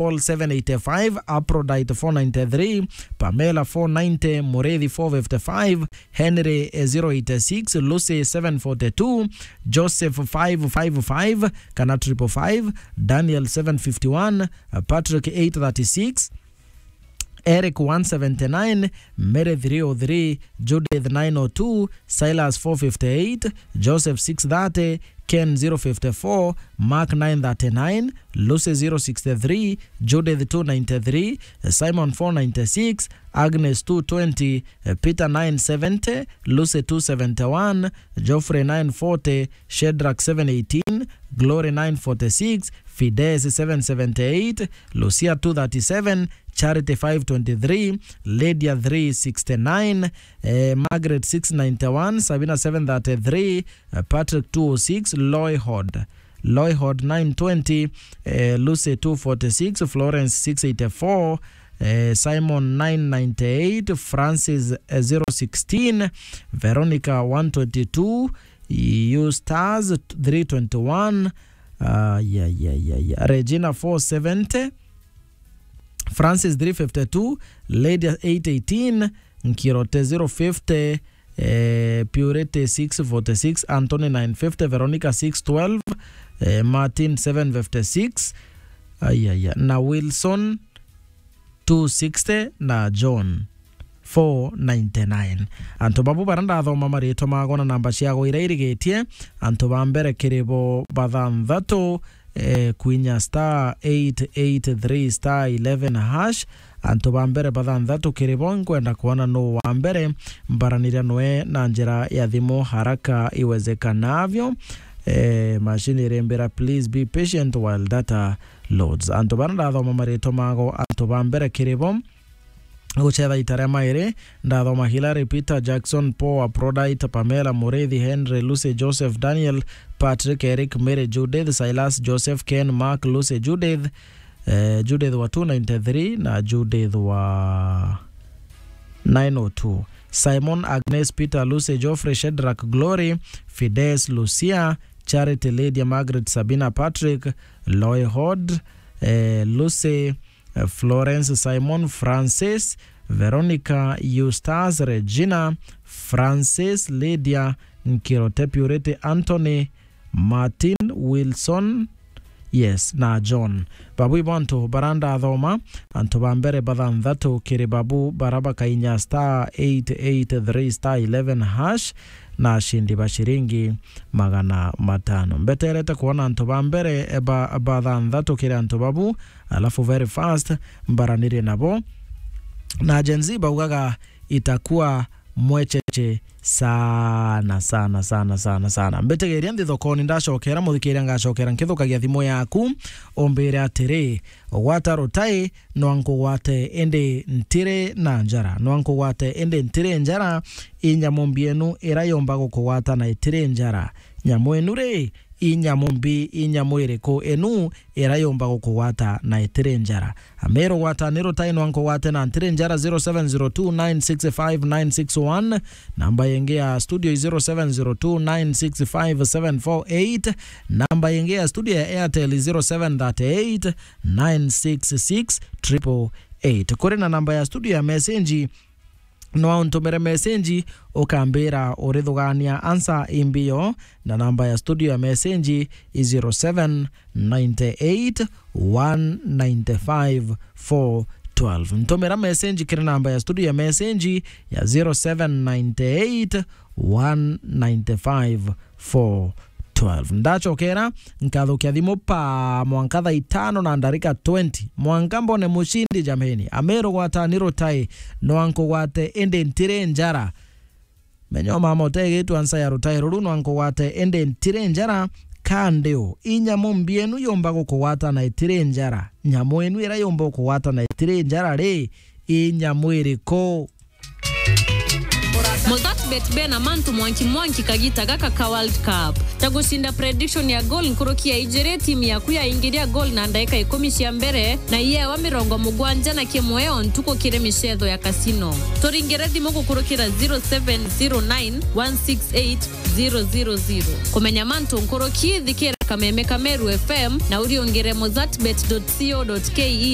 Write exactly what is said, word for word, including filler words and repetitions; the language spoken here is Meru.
Paul seven eighty-five, Aphrodite four ninety-three, Pamela four ninety, Mureithi four fifty-five, Henry, eh, zero eighty-six, Lucy seven forty-two, Joseph five five five, kana triple five, Daniel seven fifty-one, eh, Patrick eight thirty-six, Eric one seventy-nine, Mary three oh three, Judith nine oh two, Silas four fifty-eight, Joseph six thirty, Ken zero fifty-four, Mark nine thirty-nine, Lucy zero sixty-three, Judith two ninety-three, Simon four ninety-six, Agnes two twenty, Peter nine seventy, Lucy two seventy-one, Geoffrey nine forty, Shadrach seven eighteen, Glory nine forty-six, Fides seven seventy-eight, Lucia two thirty-seven, Charity five twenty-three, Lydia three sixty-nine, eh, Margaret six ninety-one, Sabina seven thirty-three, eh, Patrick two oh six, Loyhod, Loyhod nine twenty, eh, Lucy two forty-six, Florence six eighty-four, eh, Simon nine ninety-eight, Francis, eh, zero sixteen, Veronica one twenty-two, Eustace three twenty-one, ah, ya, ya, ya, ya, Regina four seventy, Francis three fifty-two, Lydia eight eighteen, Nkirote zero fifty, eh, Purity six forty-six, Anthony nine fifty, Veronica six twelve, eh, Martin seven fifty-six, ayaya, na Wilson two sixty, na John four ninety-nine. Antu babu bara ndathoma maritwa mago na namba ciago iria irigitie, antu ba mbere kiri bo bathanthatu, eh, kwinya star eight eight three star eleven hash. Antu ba mbere bathanthatu kiri bo, nkwenda kwona nuu wa mbere, mbaraniria nwe na njira ya thimu haraka iwezekanavyo. Eh, machine irimbira, please be patient while data loads. Antu bara ndathoma maritwa mago, antu ba mbere kiri bo, gucetha ita ria mairi, ndathoma Hilary, Peter, Jackson, Paul, Aphrodite, Pamela, Mureithi, Henry, Lucy, Joseph, Daniel, Patrick, Eric, Mary, Judith, Silas, Joseph, Ken, Mark, Lucy, Judith, eh, Judith wa two ninety-three na Judith wa nine oh two. Simon, Agnes, Peter, Lucy, Geoffrey, Shadrach, Glory, Fides, Lucia, Charity, Lydia, Margaret, Sabina, Patrick, Loyhod, eh, Lucy, eh, Florence, Simon, Francis, Veronica, Eustace, Regina, Francis, Lydia, Nkirote, Purity, Anthony, Martin, Wilson, yes, na John. Babu ibo antu bara ndathoma, antu ba mbere bathanthatu kiri babu bara bakainya star eight eight three star eleven hash, na ashindi ba shiringi magana matano. Mbeterete kwona antu ba mbere, eh, ba, bathanthatu kiri antu babu, alafu very fast mbaranirie nabo. Na Gen Z baugaga, "Itakuwa mwecheche sana, sana, sana, sana, sana." Mbitigiria nthi thokoni, ndacokera, muthikiria, ngacokera nkithukagia thimu yaku, umbire atiri, "Gwata rutai, nwa nkugwate indi ntiri na njara, nwa nkugwate indi ntiri njara, i nyamu mbi enu ira yumba gukugwata na itiri njara. Nyamu enu ri, i nyamu mbi, i nyamu iriku enu ira yumba gukugwata na itiri njara?" Amiru, gwata ni rutai, nwa nkugwate na ntiri njara, zero seven zero two nine six five nine six one. Namba yengi ya studio i zero seven zero two nine six five seven four eight. Namba yengi ya studio ya Airtel i zero seven three eight nine six six triple eight. Kuri na namba ya studio ya message, no untumire message, ukambira urithugania answer imbio, na namba ya studio ya message i zero seven nine eight one nine five four twelve. Ntumira message kiri namba ya studio ya message ya zero seven nine eight one nine five four twelve. Ndachokera, nkathukia thimu pa mwanka thaa itano na ndarika twenty. Mwanka mbone mushindi, jameni. Amiru, gwata ni rutai, nwa nkugwate indi ntiri njara. Menya mama utegitwa nsa ya rutai ruru, nwa nkugwate indi ntiri njara. Kandi u, i nyamu mbi enu yumba gukugwata na itiri njara. Nyamu enu ira yumba gukugwata na itiri njara ri, i nyamu iriku? Mutatu Bet bena mantu mwanki mwanki kagita gaka ka World Cup. Ta gucinda prediction ya goal nkuruki ya ijiri, timu yaku yaingiria goal na ndaika ikumi cia mbere, na iyewa mirongo mugwanja na kimwe o ntuku kiri micetho ya casino. Turingire thimu gukurukira zero seven zero nine one six eight zero zero zero. Kumenya mantu nkuruki, thikira kameme ka Meru F M na uriungire mozartbet dot co dot K E